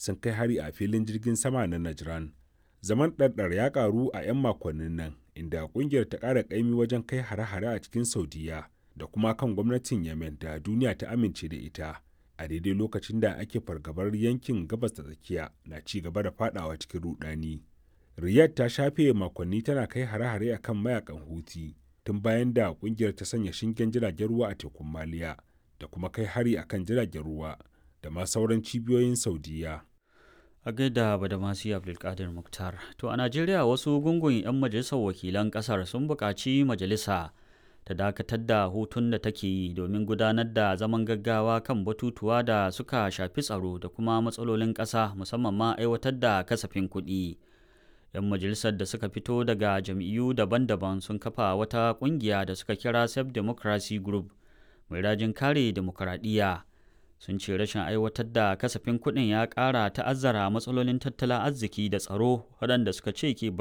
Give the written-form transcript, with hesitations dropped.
sun kai hari a filin jirgin sama na Najran. Zaman ɗarɗar ya ƙaru a 'yan makonnin nan, inda ƙungiyar ta ƙara ƙaimi wajen kai hare-hare a cikin Saudiya da kuma kan gwamnatin Yemen da duniya ta amince da ita, a daidai lokacin da ake fargabar yankin Gabas ta Tsakiya na ci gaba da fadawa cikin rudani. Riyadh ta shafe makonni tana kai hare-hare a kan mayakan Houthi tun bayan da kungiyar ta sanya shingen jiragen ruwa a tekun Maliya da kuma kai hari akan jiragen ruwa da ma sauran cibiyoyin Saudiya. A gaida Badamasi Abdulkadir Muktar. To a Najeriya, wasu gungun 'yan majalisar wakilan kasar sun buƙaci majalisa ta dakatar da hutun da take yi domin gudanar da zaman gaggawa kan batutuwa da suka shafi tsaro da kuma matsalolin ƙasa, musamman ma aiwatar da kasafin kuɗi. 'Yan majalisar da suka fito daga jam'iyyu daban-daban sun kafa wata ƙungiya da suka kira Self Democracy Group mai rajin kare dimokuraɗiyya. Sun ce rashin aiwatar da kasafin kuɗin ya ƙara ta'azzara matsalolin tattalin arziki da tsaro waɗanda suka ce ke